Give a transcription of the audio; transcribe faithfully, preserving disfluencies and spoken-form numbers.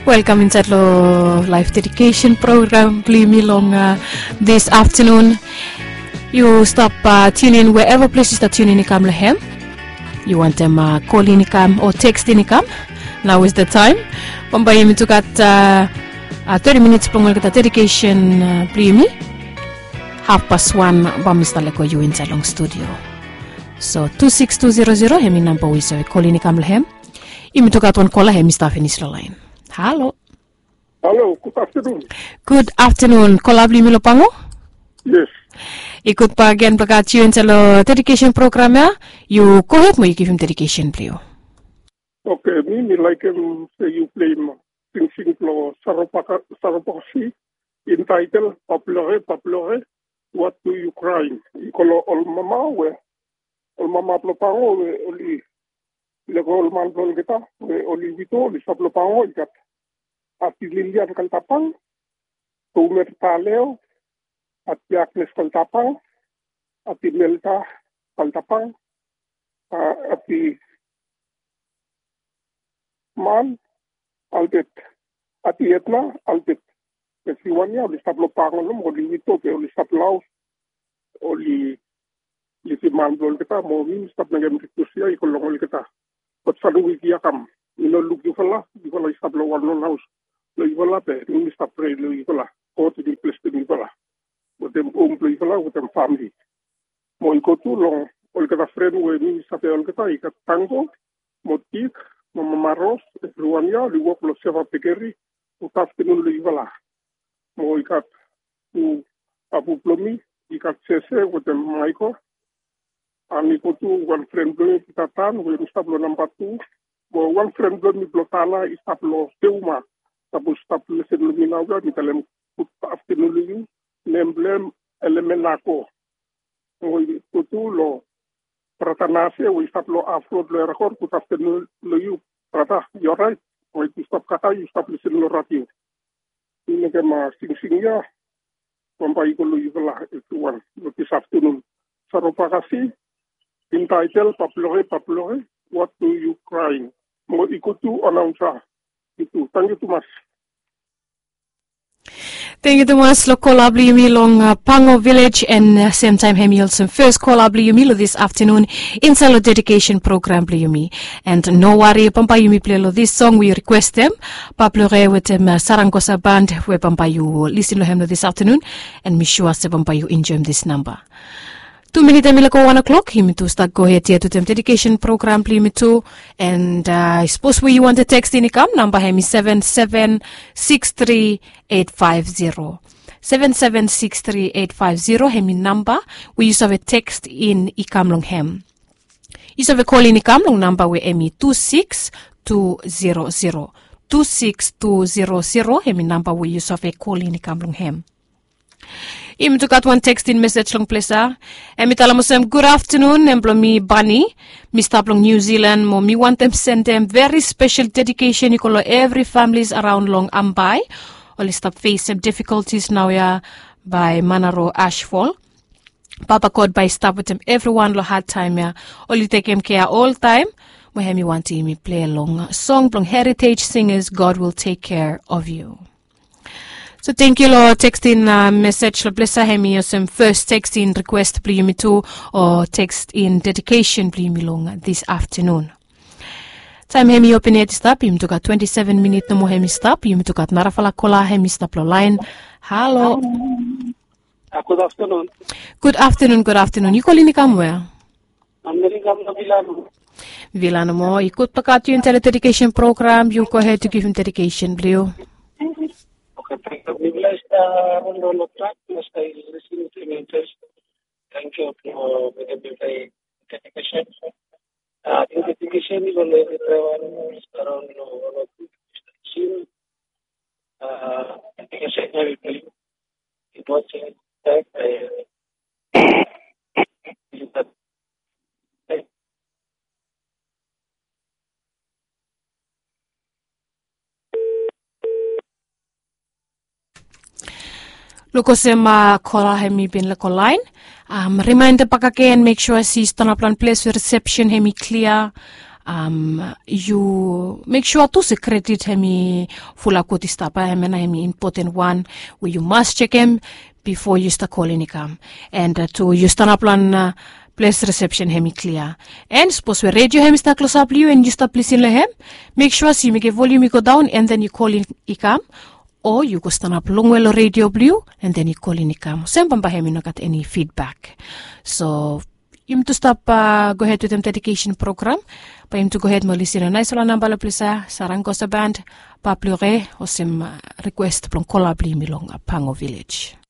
Welkam insaed long laef dedikesen program blong yumi long dis aftanun. Yu stap tiunin weeva ples yu stap tiunin i kam long hem. Yu wantem kolin i kam o tekstin i kam, nao is de taem. Bambae yumi tu gat teti minits blong olgeta dedikesen blong yumi. Hafpas wan bae mi stap lego yu insaed long studio. So tu sikis tu zero zero hem i namba we yu save kolin i kam long hem. Yumi tu gat wan kola hem i stap finis long laen. Halo. Halo, gud aftanun. Gud aftanun. Kola blong yumi long pango? Yes. I gud bakegen blong gat yu insaed long dedikesen program ya. Yu gohed mo yu givim dedikesen blong yu. Oke, mi mi laekem se yu pleim singsing blong Sarobakasi, intaetel Paplore, Paplore, what do you crying? I go long ol mama we, ol mama blong pango we oli lego ol man blong olgeta we oli wido, oli stap long pango, i gat Ati Lilian Kaltapang, Tomer Taleo, Ati Agnes Kaltapang, Ati Melda Kaltapang, Ati Man Albert, Ati Etna Albert. Be siwan ya oli stap long pango, oli wido be oli stap long haos, oli lisim man blong olgeta, mo mi mi stap mekem rikwes ya i go long olgeta. Bat save wik ya kam, mi no luk yufala. Yufala i stap long wan lon haos blong yufala, be mi mi stap prea long yufala. God i bin blesem yufala wetem hom blong yufala wetem famle. Mo i go tu long olgeta fren we mi mi save olgeta, i gat Tango mo Tik mo mama Ros, evriwan ya oli wok long Seva Bekeri. Gud aftanun long yufala. Mo i gat tu apu blong mi, i gat Sese wetem Maiko. An i go tu wan fren blong mi, Pita Tan, we mi stap long namba tu. Mo wan fren blong mi blong Tana i stap long Seuma. Sapos i stap lesen long mi naoia, mi talem gud aftanun long yu. Nem blong hem Elemenako. Mo i go tu long brata Nase we i stap long hafrod long Erakor, gud aftanun long yu brata. Yu oraet? Mo i tu stap kaka, yu stap lesen long radio. Mi mekem singsing ya bambae i go long yufala evriwan long dis aftanun. Sarobakasi, intaetel Paplore, Paplore, what do you crying? Mo i go tu anaonsa. Yu tu, tangkiu tumas. Tangkiu tumas long kola blong yumi long Pango Vilej, an semtaem hem i olsem fes kola blong yumi long dis aftanun insaed long dedikesen program blong yumi. An no wari, bambae yumi plei long dis song we yu rikwestem, Paplore wetem Sarangosa Band, we bambae yu lisin long hem long dis aftanun. An mi sua se bambae yu enjoem dis namba. Tu minit hem i laik go wan o'clock, yumi tu stap gohed yet wetem dedikesen program blong yumi tu. An sapos we yu wantem tekstin i kam, namba hem i seven seven six three eight five zero. Seven seven six three eight five zero hem i namba we yu save tekstin i kam long hem. Yu save kolin i kam long namba we hem i tu sikis tu zero zero. Tu sikis tu zero zero hem i namba we yu save kolin i kam long hem. Yumi tu gat wan tekstin mesej long ples ya. Hem i talem olsem, gud aftanun, nem blong mi Bani. Mi stap long Niu Silan, mo mi wantem sendem veri spesel dedikesen i go long evri famles araon long Ambae. Oli stap fesem difikoltis naoia bae Manaro ashfol. Papa God bae i stap wetem evriwan long hadtaem ya. Oli tekem kea oltaem. Mo hem i wantem yumi plei long song blong Heritage Singers, God Will Take Care of You. So tangkiu long tekstin mesej long ples ya. Hem i olsem fes tekstin rikwes blong yumi tu, o tekstin dedikesen blong yumi long dis aftanun. Taem hem i opin yet i stap, yumi tu gat twenti seven minit nomo hem i stap. Yumi tu gat narafala kola hem i stap long laen. Halo. Gud aftanun. Gud aftanun, gud aftanun. Yu kolin i kam wea? Amerika, Vilano. Vilano mo, i gud blong gat yu intae long dedikesen program, yu gohed yu givim dedikesen blong yu. Oke, tangkiu. Mi bless, uh, on the Lord, bless, I listen to me, just thank you for the dedication. Uh, the dedication is on everyone, around, you know, all of you. Uh, dedication, everything. It was, uh, Luk olsem kola hem i bin lego laen. Rimaenda bakegen, mek sua se yu stanap long ples we risepsen hem i klia. Yu mek sua tu se kredit hem i fulap gud i stap ya, hem ya na hem i impoten wan we yu mas jekem bifo yu stap kolin i kam. And tu yu stanap long ples resepsen hem i klia. And sapos we redio hem i stap klosap long yu and yu stap lisin long hem, mek sua se yu mekem volium i go daon and then yu kolin i kam, o yu go stanap longwe long redio blong yu and then yu kolin i kam olsem bambae hem i no gat eni fidbak. So yumi tu stap gohed wetem dedikesen program. Bae yumi tu gohed mo lisin long naesfala namba long ples ya, sarangosa band, paplure olsem rikwes blong kola blong yumi long pango vilej.